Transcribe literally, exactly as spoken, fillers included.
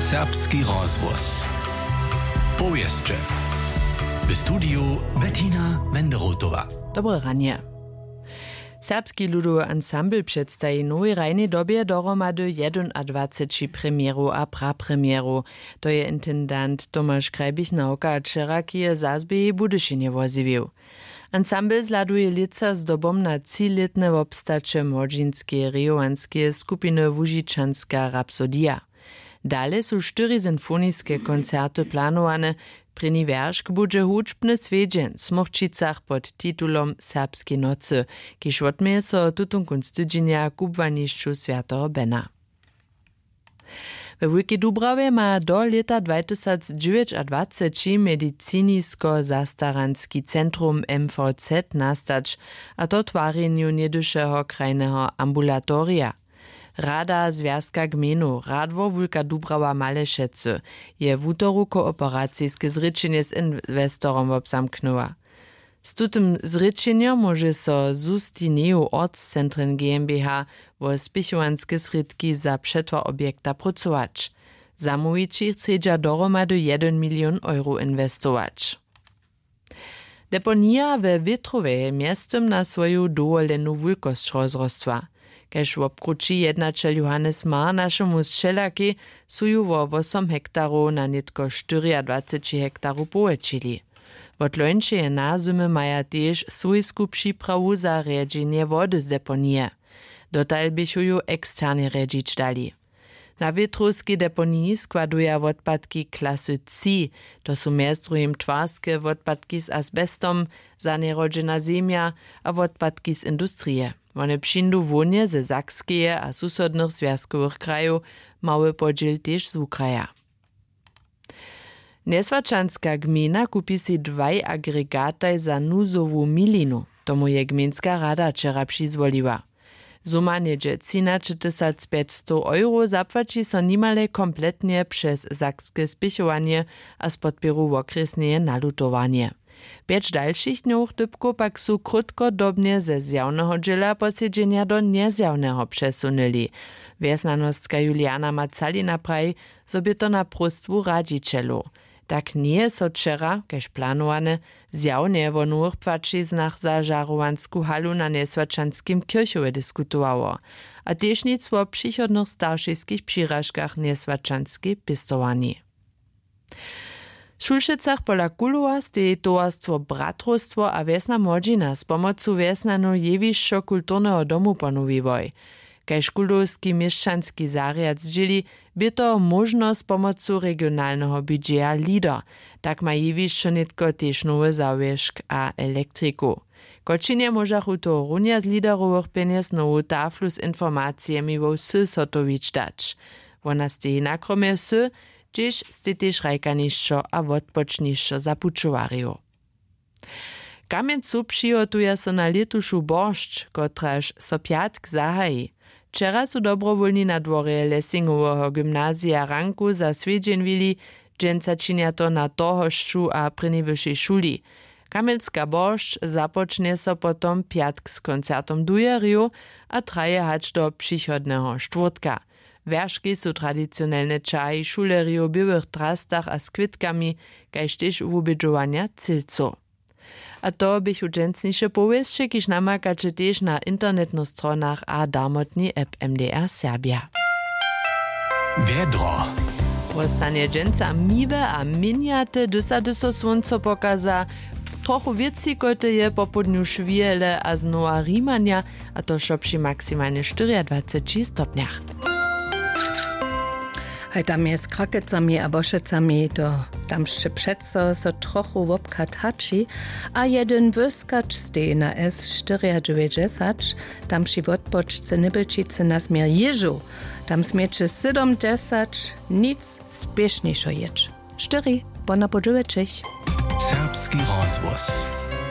Serbski rozhłos. Powěsće. W studiju Bettina Menderotowa. Dobre ranje. Serbski ludowy ansambl předstaji w nowej hrajnej dobje dohromady jedynadwaceći premjerow a prapremjerow. To je intendant Tomaš Krajbich-Nawka wčera k jeje zazběhi w Budyšinje wozjewił. Ansambl zhladuje lětsa zdobom na třilětne wobstaće młodźinskeje rejowanskeje skupiny Łužičanska rapsodija. Dale su štyri sinfoniske koncerty planowane. Prěni wjeršk budźe hudźbny swjedźeń w Smórćicach pod titulom Serbskeje nocy, kiž wotměje so tutón kónc tydźenja w kubłanišću swjateho Bena. We Wulkej Dubrawje ma do lěta dwatysacdźewjećadwaceći medicinisko-zastaranski centrum M V Z nastać, a to w twarjenju něhdyšeho krajneho ambulatorija. Rada Zwjazka gmejnow Radwor Wulka Dubrawa Malešecy je wutoru kooperaciske zrěčenje z inwestorom wobzamknyła. Z tutym zrěčenjom móže so Sustineju Ortszentren GmbH wo spěchowanske srědki za přetwar objekta prócować. Zamołwići chcedźa dohromady jedyn milion euro inwestować. Deponija we Wětrowje je mjeztym na swoju dowolenu wulkosć rozrostła. Kaž wobkrući jednaćel Johannes Marr našemu sćelakej, su ju wo wosom hektarow na nětko štyriadwaceći hektarow powjetšili. Wot lońšeje nazymy maja tež swójsku připrawu za rjedźenje wody z deponije. Dotal běchu ju eksternje rjedźić dali. Na wětrowskej deponiji składuja wotpadki klasy tři. To su mjez druhim twarske wotpadki z asbestom, zanjerodźena zemja a wotpadki z industrije. Wone přińdu hłowne ze Sakskeje a susodnych zwjazkowych krajow, mały podźěl tež z wukraja. Njeswaćanska gmejna kupi sej dwaj agregataj za nuzowu milinu. Tomu je gmejnska rada wčera přizwoliła. Suma něhdźe třinaćetysacpjećstow euro zapłaći so nimale kompletnje přez sakske spěchowanje a z podpěru wokrjesneje nalutowanje. Pjeć dalšich dnjowych dypkow pak su krótkodobnje ze zjawneho dźěla posedźenja do njezjawneho přesunyli. Wjesnjanostka Juliana Macalina praji, zo bě to na próstwu radźićelow. Tak njeje so wčera, kaž planowane, zjawnje wo nowych płaćiznach za žarowansku halu na njeswaćanskim kěrchowje diskutowało, a tež nic wo přichodnych staršiskich přiražkach njeswaćanskej pěstowarni. W Šulšecach pola Kulowa steji towarstwo Bratrowstwo a wjesna młodźina z pomocu wjesnjanow jewišćo kulturneho domu ponowiłoj. Kaž kulowski měšćanski zarjad zdźěli, bě to móžnosć pomocu regionalneho budźeja LEADER. Tak ma jewišćo nětko tež nowy zawěšk a elektriku. Kočinje móžachu tohorunja z LEADERowych pjenjez nowu taflu z informacijemi wo wsy zhotowić dać. Wona steji na kromje wsy, hdźež stej tež hrajkanišćo a wotpočnišćo za pućowarjow. W Kamjencu přihotuja so na lětušu boršć, kotraž so pjatk zahaji. Wčera su dobrowólni na dworje Lessingoweho gymnazija ranku za swjedźeń wili. Dźensa činja to na Torhošću a prěni wyšej šuli. Kamjenska boršć započnje so potom pjatk z koncertom dujerjow a traje hač do přichodneho štwórtka. Wjerški su tradicionelne ćahi šulerjow w běłych drastach a z kwětkami, kaž tež wubědźowanja cylcow. A to běchu dźensniše powěsće, kiž namakaće tež na internetnych stronach a darmotnej app M D R Serbja. Wjedro. Wostanje dźensa miłe a měnjate, hdyž so słónco pokaza. Trochu wětřikoty je popołdnju šwihele a znowa hrimanja, a to wšo při maksimalnje štyriadwaceći stopnjach. Haj tam je z Krakecami a Bošecami, to tam sće přeco so trochu wobchad hači, a jedyn wyskać steji na S štyriadźewjećdźesać, tam při wotpočce Nybelčicy na směr jěžow. Tam směće sydomdźesać, nic spěšnišo jěć. Štyri, ponapoł dźewjećich. Serbski rozhłos.